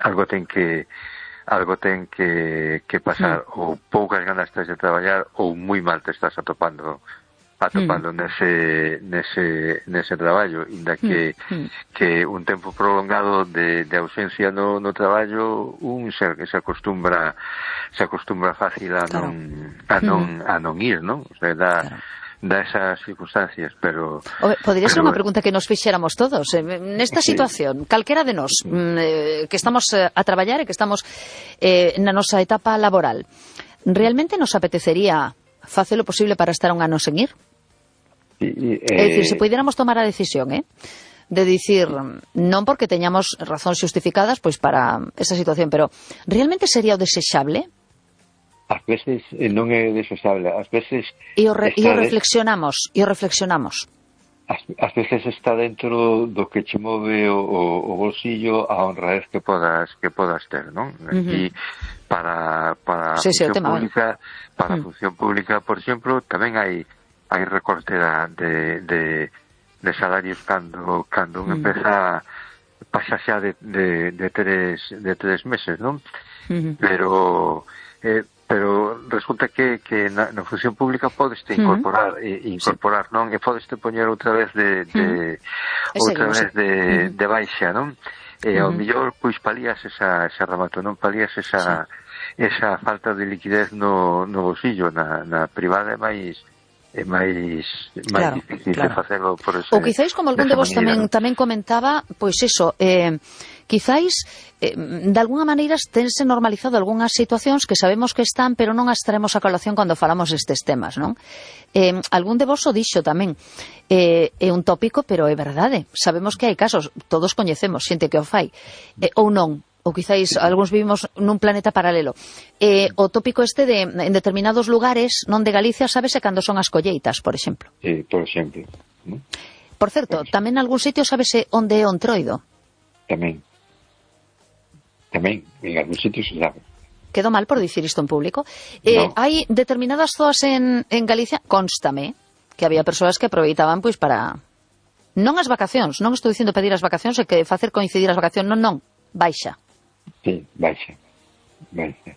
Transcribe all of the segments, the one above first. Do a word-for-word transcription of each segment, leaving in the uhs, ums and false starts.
algo ten que algo ten que, que pasar, mm. ou poucas ganas tens de traballar ou moi mal te estás atopando atopando mm. nese nese nese traballo, inda que mm. que un tempo prolongado de, de ausencia no, no traballo un se, se acostumbra se acostumbra fácil a non claro. a non mm. a non ir, non? O sea, da claro. da esas circunstancias, pero... Podería ser unha pregunta que nos fixéramos todos. Nesta sí. situación, calquera de nós, sí. eh, que estamos eh, a traballar e que estamos eh, na nosa etapa laboral, realmente nos apetecería facer o posible para estar un ano sen ir? Sí, eh... É dicir, se pudiéramos tomar a decisión, eh? de dicir, non porque teñamos razóns justificadas pois para esa situación, pero realmente sería o desexable? Ás veces non é desexable, ás veces... E o, re, e o reflexionamos, e o reflexionamos. Ás, ás veces está dentro do que che move o, o, o bolsillo a honradez que podas que podas ter, non? Uh-huh. E para, para sí, a función sí, tema, pública, ¿vale? para a uh-huh. función pública, por exemplo, tamén hai hai recorte de, de, de salarios cando, cando un uh-huh. empeza pasa xa de, de, de, tres, de tres meses, non? Uh-huh. Pero... Eh, pero resulta que, que na, na función pública podeste incorporar uh-huh. e, incorporar, sí. non? E podeste poñer outra vez de, de uh-huh. outra vez de, uh-huh. de baixa, non? E uh-huh. ao mellor pois palías esa, esa remato, non palías esa sí. esa falta de liquidez no, no bolsillo, na, na privada é máis é máis máis claro, difícil claro. de facelo por ese. Ou quizáis como algún de vos tamén, tamén comentaba, pois eso, eh, quizáis eh, de alguna maneira tense normalizado algunhas situacións que sabemos que están, pero non as traemos a colación cando falamos estes temas, non? Eh, algún de vos o dixo tamén, eh, é un tópico, pero é verdade, sabemos que hai casos, todos coñecemos xente que o fai, eh, ou non, ou quizáis algúns vivimos nun planeta paralelo. Eh, o tópico este de en determinados lugares, non de Galicia, sábese cando son as colleitas, por exemplo. Sí, por exemplo. ¿No? Por certo, tamén nalgún sitio sábese onde é o Entroido. Tamén. Tamén, en algún sitio se sabe. Quedo mal por dicir isto en público. Eh, no. Hai determinadas zoas en, en Galicia, constame, que había persoas que aproveitaban pois para... Non as vacacións, non estou dicindo pedir as vacacións e que facer coincidir as vacacións, non, non, baixa. Sí, baixa, baixa.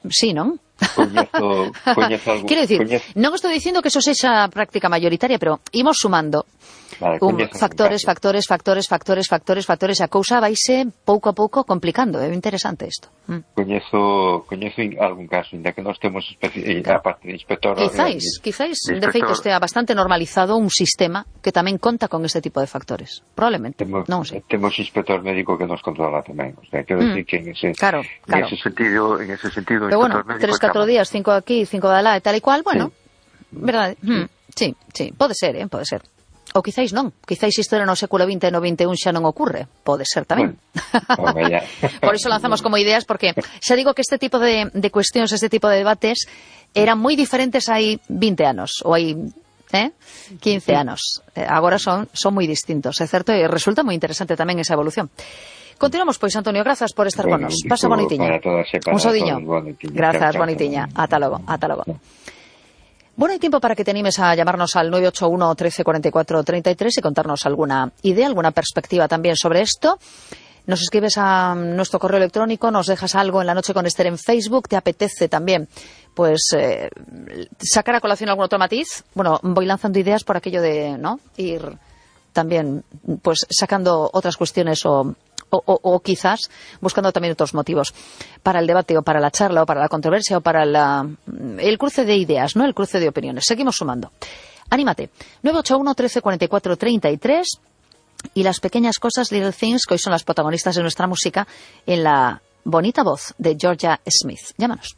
Sí, non? Coñezo, coñezo algo. Quero dicir, coñezo... non estou dicindo que eso sexa práctica mayoritaria, pero imos sumando vale, un, factores, factores, factores, factores, factores, factores, a cousa vaise pouco a pouco complicando, é interesante isto. Mm. Coñezo, coñezo algún caso, inda que nós temos especi... claro. a parte de inspector... Quizáis, quizáis, de, de feito, estea bastante normalizado un sistema que tamén conta con este tipo de factores. Probablemente, temos, non sei. Temos inspector médico que nos controla tamén, o sea, quero mm. decir que en ese, claro, claro. en ese sentido, en ese sentido, pero bueno, tres, catro días, cinco aquí, cinco de lá e tal e cual, bueno, sí. verdade, sí. Mm, sí, sí, pode ser, eh, pode ser. Ou quizáis non, quizáis isto era no século vinte e no vinte e un xa non ocurre, pode ser tamén. Bueno, por iso lanzamos como ideas, porque xa digo que este tipo de, de cuestións, este tipo de debates eran moi diferentes hai vinte anos, ou hai eh, quince anos. Eh, agora son, son moi distintos, é certo, e resulta moi interesante tamén esa evolución. Continuamos, pois, Antonio, grazas por estar bueno, con nos. Pasa bonitiña. Un sodiño. Grazas, bonitiña. Ata logo, ata logo. Bueno, hay tiempo para que te animes a llamarnos al nueve ocho uno, trece, cuarenta y cuatro, treinta y tres y contarnos alguna idea, alguna perspectiva también sobre esto. Nos escribes a nuestro correo electrónico, nos dejas algo en La Noche con Esther en Facebook, te apetece también pues eh, sacar a colación algún otro matiz. Bueno, voy lanzando ideas por aquello de no ir también pues sacando otras cuestiones o... O, o, o quizás buscando también otros motivos para el debate o para la charla o para la controversia o para la, el cruce de ideas, ¿no? El cruce de opiniones. Seguimos sumando. Anímate. nueve ocho uno, trece, cuarenta y cuatro, treinta y tres y las pequeñas cosas, Little Things, que hoy son las protagonistas de nuestra música en la bonita voz de Georgia Smith. Llámanos.